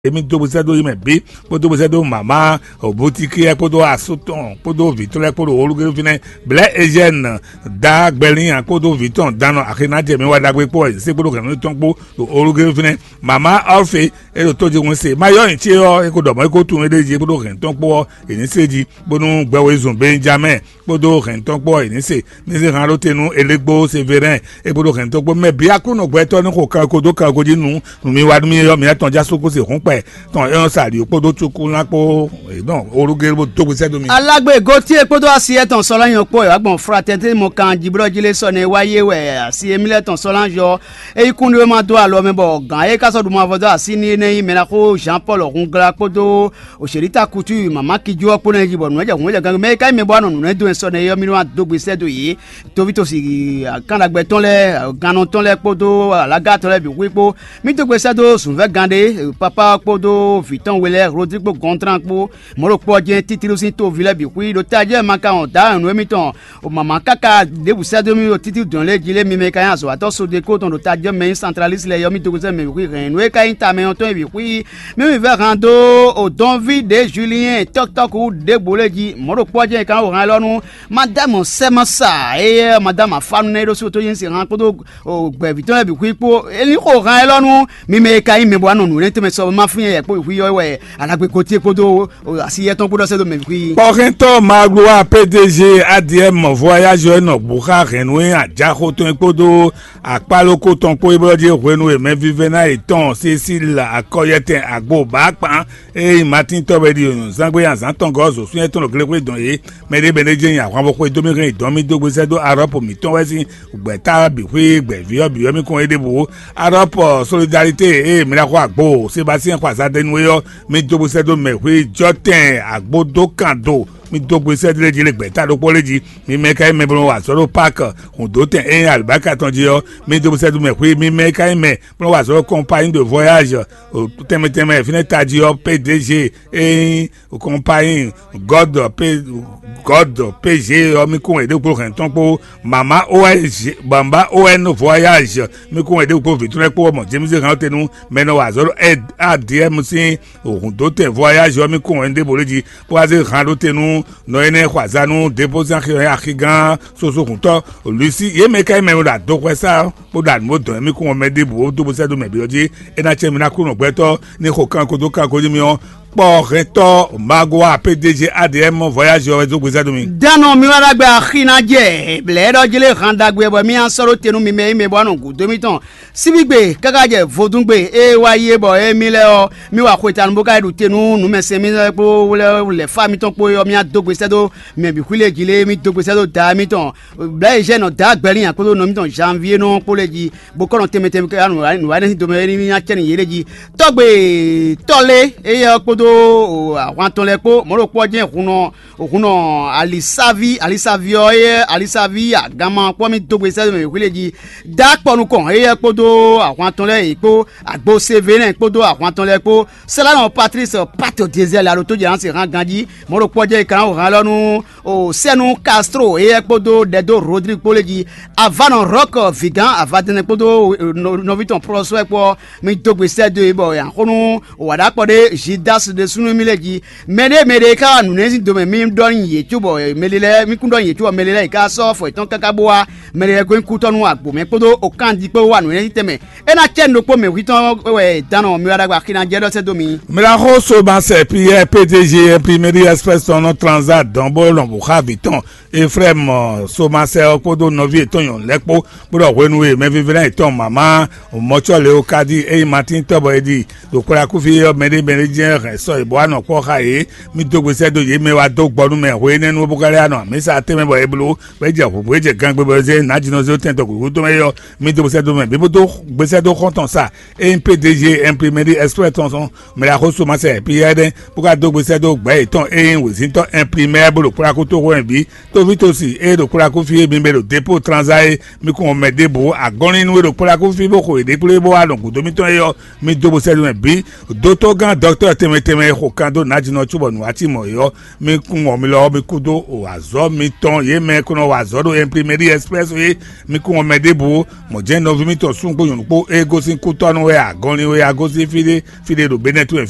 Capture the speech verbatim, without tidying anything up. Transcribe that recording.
Emi dó bó sɛ́ dó yi mɛ bǐ, kpódó bó sɛ́ dó mama Butikiyɛ kpódó asú tɔn kpódó vǐ tɔn lɛ́ɛ kpódó olúgéɖó fínɛ́, blɛ̌ Ezyɛ́ni, dǎ Gbɛlínya kpódó vǐ tɔn danɔ axi ná jɛ mǐ wa ɖagbe kpó wɛ yě se kpódó hɛ̌nnu tɔn kpó ɖo olúgéɖó fínɛ́. Mama Ɔ́fe e ɖo tójihún se, ma yɔ́ nyi ce ɔ́, é ko ɖɔ mɔ̌ é ko tunwun éɖée jí kpódó hɛ̌nnu tɔn kpó ɔ́, è ní se jí, bónú gbɛwezun Benjamɛ́ɛ kpódó hɛ̌ntɔ́ kpó ɔ́, è nǐ se. Mi zé han ɖó te nú Elégbó Severɛ́n, é kpódó hɛ̌ntɔ́ kpó mɛ bǐ Aklúnɔ gbɛtɔ́ ní xo kanko dó kanko jí nú nǔwiwa nú mì ɔ́, mǐ atɔn já sú kó se hǔn kpɛ tɔn é ɔ́ sa ɖǐ kpódó cúkúlán kpó. Nɔ olúgé bó dó gbesɛ dó mi. Alágbe Gotíe kpódó asi etɔn Sɔlɔ́nyɔ kpó wɛ wá gbɔn Fratɛ́nte mɔ kan jiblɔ́ jí lé sɔ nɛ́ wá yé wɛ asi émí lɛ́ɛ tɔn Sɔlɔ́nyɔ é yí kúnɖéwéma dó alɔ mɛ bɔ gǎn e ka sɔ́ ɖu mavɔ dó así n'i é nɛ́ nyí mɛɖaxó Jean Paul Hungla kpódó Oṣèlítà Kutu mama Kijú ɔ́ kpó ná yi jí bɔ nǔ e jɛ hǔn jɛ gangbé mɛ e ka nyí mɛ bɔ wá nɔ nǔ lɛ́ɛ dó wɛ sɔ nɛ́ é ɔ́, mì nɔ wá dó gbe sɛ́ dó yě. Toví tosí, kánɖagbe tɔn lɛ́ɛ, gannɔ tɔn lɛ́ɛ kpódó alága tɔn lɛ́ɛ bǐ xwí kpó. Mì dó gbe sɛ́ dó zǔnvɛ́gán ɖé, papá ɔ́ kpódó vǐ tɔn we lɛ́ɛ Rodrigo Gɔntrán kpó. Mɔ̌ ɖo kpɔ́ jɛ́n títlú sín toví lɛ́ɛ bǐ xwí ɖo tají wɛ ma ka wɔn dǎ nyɔ̌nu émítɔn. O mama káká ɖěbǔ sɛ́ dó mì ɖo títí dɔ̌n lɛ́ɛ jí lé mi mɛ ka nyí azɔ̌watɔ́ Sodeko tɔn ɖo tají mɛ nyí santralísi lɛ́ɛ yɔ mì dó gbe sɛ́ mɛ bǐ xwí hɛ̌nnu e ka nyí tamɛ ɔ́ tɔn e bǐ xwí. Mì mì vɛ́ han dó o dɔnví ɖě Julien tɔ́kítɔ́kú ɖěbǔ lɛ́ɛ jí, mɔ̌ ɖo kpɔ́ jɛ́n è ka nɔ han élɔ́ nú Madámu Sɛ́masa, éyɛ́ Madámu Afánu nɛ́ é ɖó sú tó nyí sin han kpódó gbɛ̌ví tɔn lɛ́ɛ bǐ xwí kpó. É ní xo han élɔ́ nú mi mɛ e ka nyí mɛ bɔ wá nɔ nǔ lɛ́ɛ tɛnmɛ sɔ ma fún yɛ kpó xwí ɔ́ wɛ alagbe gotíe kpódó asi yɛtɔn kpó ɖɔ sɛ́ dó mɛ bǐ xwí. Kpɔ́xɛntɔ́ Magloire P D G A D M voyage ɔ́ nɔ bǔ xá hɛ̌nnu e ajaxo tɔn e kpódó akpálókó tɔn kpó é blɔ́ jí hwenu e mɛvívɛ́ná yětɔn Cécile Akɔyɛtɛn Agbo bǎ kpán. Ée nyí Matín tɔ́ wɛ ɖi zǎngbé azǎn tɔn gɔ́ zǒsúnyɛ tɔn ɖo glexwé dɔn yě. Mɛ ɖé mɛ ɖé jɛ́n nyi ahwan bó xwedó mì hɛn yi dɔn mì dó gbesɛ dó Arɔ́pu mǐtɔn wɛ sín gbɛ̌ta bǐ xwé gbɛ̌ví ɔ́ bǐ ɔ́ mì kɔn é ɖěbǔ. Arɔ́pu Solidarité ée mǐ ná xo agbo Sebastien xɔ azadɛnu é ɔ́, mì dó gbesɛ dó mɛ xwé jɔ́tɛn agbo dó kan do. Mì dó gbesɛ lé jí lé gbɛ̌ta ɖokpó lé jí. Mi mɛ ka nyí mɛ bó nɔ wa azɔ̌ ɖo Paki hǔndótɛn e nyí alibáka tɔn jí ɔ́, mi dó gbesɛ dó mɛ xwé. Mi mɛ ka nyí mɛ bó nɔ wa azɔ̌ ɖo compagnie de voyage tɛnmɛ tɛnmɛ fínɛ́ tají ɔ́, P D G e nyí compagnie God P God P G ɔ́, mi kún wɛ ɖěkpo hɛn tɔn kpó mama O N G mama O N voyage, mi kún wɛ ɖěkpo vǐtrɔ́ kpó mɔ James hɛn te nú mɛ nɔ wa azɔ̌ ɖo A D M sín hǔndótɛn voyage ɔ́, mi kún wɛ ɖěbǔ lé jí bó wá zé han ɖó te nú nɔ énɛ́ xɔ azǎn nú dépozán axigán soso hǔntɔ́ Lusi. Yě mɛ ka nyí mɛ e ɖo adoxwɛ sá bó ɖo anǔ bó dɔn mì kún ɔ́ mɛ ɖěbǔ ó dó bó sɛ́ dó mɛ bǐ ɔ́ jí. É ná cɛ mi ná kú nɔ gbɛtɔ́ ní xo kanko dó kanko jí mi ɔ́, kpɔ́ hɛntɔ́ Magua P D G A D M voyage ɔ́ wɛ dó gbezɛ dó mi. Dánɔ mi wá ɖagbe axi ná jɛ blɛ̌ɖɔ jí lé han ɖagbe bɔ mì á sɔ́ ɖó te nú mi mɛ e mɛ bɔ wá nɔ gǔdo mitɔn síbígbe káká jɛ vodúngbe e wá yi é bɔ émí lɛ́ɛ ɔ́, mì wa xwetanu bó ka yi ɖu te nú nǔmɛsɛn mì lɛ́ɛ kpó lɛ́ lɛ̌ fá mitɔn kpó é ɔ́, mì á dó gbe sɛ́ dó mɛ bǐ xwí lě jí lé mì dó gbe sɛ́ dó da mitɔn. Blɛ̌ e Zɛ́nɔ dǎ gbɛlín kpódó nɔ mítɔn Janvier nɔ kpó lɛ́ɛ jí, bó kɔ́ nɔ tɛnmɛ tɛnmɛ ká nǔ wa nǔ wa nɛ́ sín domɛ éní ná cɛ n'i yě lɛ́ɛ jí. Tɔ́gbe éyɛ́ ɔ́ kpódó ahwan tɔn lɛ́ɛ kpó mɔ̌ ɖo kpɔ́ jɛ́n hun nɔ hun nɔ alisaví alisaví ɔ́ éyɛ́ alisaví aganma kpɔ́ mì dó gbe sɛ́ domɛ xwí lɛ́ɛ jí. Dǎ kpɔ nukɔn éyɛ́ kpódó ahwan tɔn lɛ́ɛ yě kpó agbo Sevelɛ́n kpódó ahwan tɔn lɛ́ɛ kpó Sɛ́lánɔ Patlísi Pátɔ Dezɛli alo tó jɛ ná se hán ganjí mɔ̌ ɖo kpɔ́ jɛ́n è ka ná han élɔ́ nú o sɛ́nu Castro éyɛ́ kpódó ɖɛdó Rodrigue kpó lé jí. Avánɔ Rɔ́k Vigán avadɛnɛ kpódó nɔví tɔn Prɔsúɛ kpó ɔ́, mi dó gbe sɛ́ dó e bɔ è nǎ xo nú wǎɖákpɔ ɖé Judasi ɖésúnɔ mì lɛ́ɛ jí. Mɛɖé mɛɖé e ka wa nǔnɛ́ sín domɛ mì ɖɔ nyi yě cóbɔ mɛɖé lɛ́ɛ mì kún ɖɔ nyi yě cóbɔ mɛɖé lɛ́ɛ è ka sɔ́ afɔ yětɔn káká bó wá mɛɖé lɛ́ɛ gɔ́ nyi kú tɔ́ nú agbǒmɛ kpódó okándi kpó wá nǔnɛ́ sín tɛnmɛ. É ná cɛ nǔ ɖokpó mɛ̌hwítɔn wɛ dán nɔ mi wá ɖagbe axi ná jɛ ɖɔ sɛ́ dó mi. Miraxo Somasɛ Piyɛ́ɛ P D G Imprimerie Express tɔn nɔ tranza dɔn bó lɔn bǔ xá vǐ tɔn Eflɛ́mu Somasɛ ɔ́ kpódó nɔví yětɔn nyɔ̌nu lɛ́ɛ kpó, bó ɖɔ hwenu e mɛvívɛ́ná yětɔn mama mɔcɔ́ Leokadi e nyí Matín tɔ́ bɔ è ɖi ɖo kplakúfí ɔ́ mɛɖé mɛɖé jɛ́n hɛn sɔ yě bó wá nɔ kpɔ́ xá yě. Mì dó gbe sɛ́ dó yě mɛ wá dó gbɔ nú mɛ hwe énɛ́ nú bó ka lɛ́ wá nɔ amǐsa tɛnmɛ bɔ è bló bɔ é jɛ hǔnhún é jɛ gangbé bɔ é zé nǎjínɔzé tɛn tɔgǔgú tɔn mɛ é ɔ́, mì dó gbe sɛ́ dó mɛ bǐ bó dó gbe sɛ́ dó xɔ́ntɔn sa. Ényí P D G Imprimerie Express tɔn sɔn mɛ ɖaxó Somasɛ Piyɛ́ɛ ɖe bó ka dó gbe sɛ́ dó gbɛ̌ yětɔn e nyí wězíntɔ́ Imprimɛ́ɛ bó ɖo kplɔ́ akútoxo wɛn bǐ. Tóvítosi e ɖo kplɔ́ akúfí e mi mɛ ɖo dépó tranzá é, mi kún mɔ mɛ ɖěbǔ agɔ́nlín nú e ɖo kplɔ́ akúfí bó xo yěɖée kplé bó wá nɔ gǔdo mitɔn é ɔ́, mi dó gbe sɛ́ dó mɛ bǐ. Dótógán dɔktɔ́ tɛnmɛ Mɛ e xo kan dó nǎjínɔ cóbɔ nǔ wá cí mɔ̌ é ɔ́, mi kún wɔ mi lɔ ɔ́, mi kú dó o azɔ̌ mitɔn. Yě mɛ e ko nɔ wa azɔ̌ ɖo Imprimerie Express é, mi kún wɔ mɛ ɖěbǔ. Mɔ̌ jɛ́n nɔví mitɔn súnnu kpó nyɔ̌nu kpó e gosín kútɔ́nú wɛ a, gɔnlin wɛ a, gosín fí ɖé fí ɖé ɖo Benɛ́ tún wɛ fí